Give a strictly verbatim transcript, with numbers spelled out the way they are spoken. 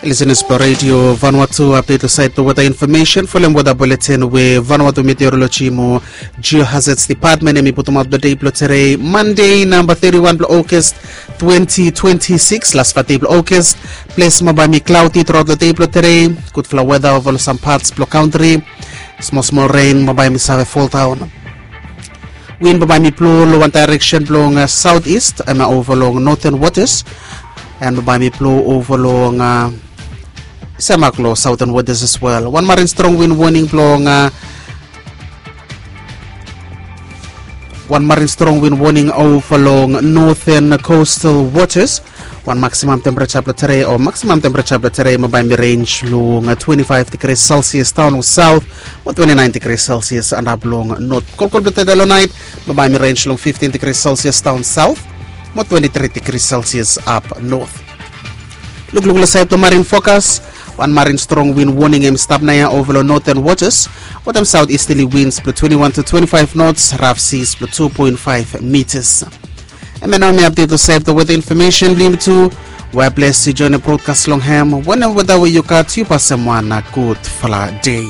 Lisenas blong redio Vanuatu, update lo sait blong weta infomesen folem weta buletin we Vanuatu Meteorology mo Geohazards Department em i putumaot blong dei blong tere, Mande namba teti wan blong August twenty twenty six, lasfala dei blong August. Ples mo bae mi klaudi truaot long dei blong tere. Gudfala weta ova long sam pats blong kantri. Smol smol ren mo bae mi save foldaon. Win bambae mi blo long wan daereksen blong saut ist em ova long Northern Waters. En bambae mi blo ova long semak long Southern Waters as well. Wan marin strong win woning blong wan marin strong win woning ova long Northern Coastal Waters. Wan maksimam tempereja blong tere o maksimam tempereja blong tere bambae mi rens long twenty five degrees Celsius daon long saut, mo twenty nine degrees Celsius antap long not. Kolkol blong tede long nait bambae mi rens long fifteen degrees Celsius daon saut, mo twenty three degrees Celsius ap not. Lukluk long sait blong marin fokas. Wan marin strong win woning em stap naoia ova long Northern Waters wetem saut isterli wins blong twenty one to twenty five nots, raf sis blong two point five mitas. Em ya nao mi apdet long sait blong weta infomesen blong yumi tu. We bles yu joenem brodkas long hem wanem weta we yu gat, yu pasem wan gudfala dei.